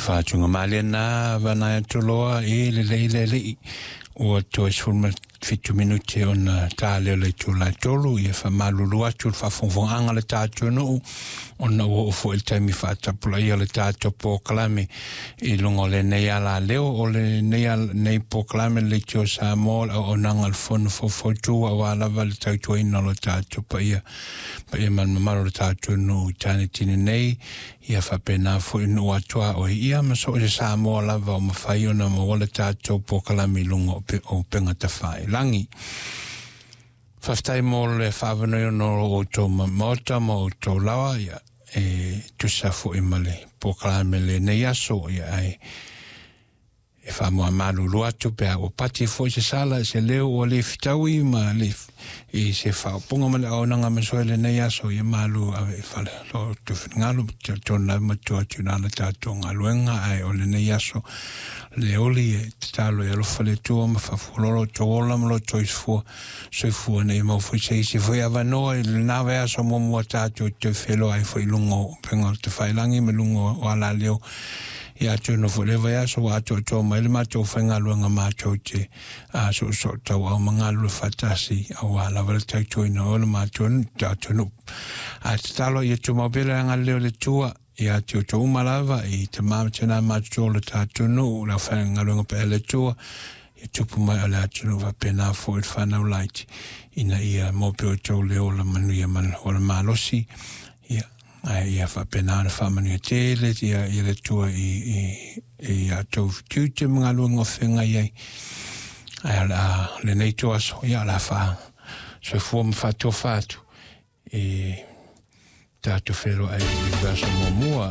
Faatugamalie lena vanae atu loa i lelei le alii ua toe 17 minute ona ta lea o le itula e 3. Ia faamalulu atu le faafogafogaaga a le tatou nuu ona ua oo foi i le taimi faatapulaia o le tatou polokalame i luga o lenei alaleo o lenei polokalame le Leitio Samoa, le auaunaga a le Fono Faufautua aua lava le tautuaina o lo tatou paia paia ma le mamalu o le tatou nuu i Tanitini nei, ia faapena foi nuu atuaoi, ia ma so o se Samoa lava o mafai ona maua le tatou polokalame i luga o upega tafailagi. Faafetai mo le faavanoe ona o outou maota ma outou lawa, ia e tusa foi ma le polokalame lenei aso, ia ae e faamuamalulu atu pe a ua pati foi se sala, se leo ua le fitaui ma le i se faaopoga ma le auaunaga ma soe lenei aso. Ia malu ave i fale lo outou finagalo, talitonu lava matua atu i le tatou galuega, ae o lenei aso le oli e tatalo e alofa le Atua ma faafualoalo outou ola ma lo outou soifua ina ia maua foi se isi foi avanoa i lena vaiaso muamua tatou toe feiloai foi i luga o upega o le tafailagi ma luga o alaleo. Ia atonu foi le vaiaso ua atoatoa mai le matou faigaluega matou te soosoo tauau ma galulue faatasi aua lava le tautuaina o le matou atunuu. Ae tatalo ia tumau pea le agalelei o le Atua ia te outou uma lava i tama ma tina matutua o le tatou nuu, le aufaigaluega paia a le Atua, ia tupu mai o le atunuu faapena foi le fanau laiti, ina ia maua pea outou le ola manuia ma le ola malosi, ia ae ia faapena ona faamanuia tele ia le Atua i a outou tiute ma galuega o feagai ai. Ae o le a lenei ituaso, ia o le a faasoifua ma faatofa atu e tatou feiloai i le aso muamua.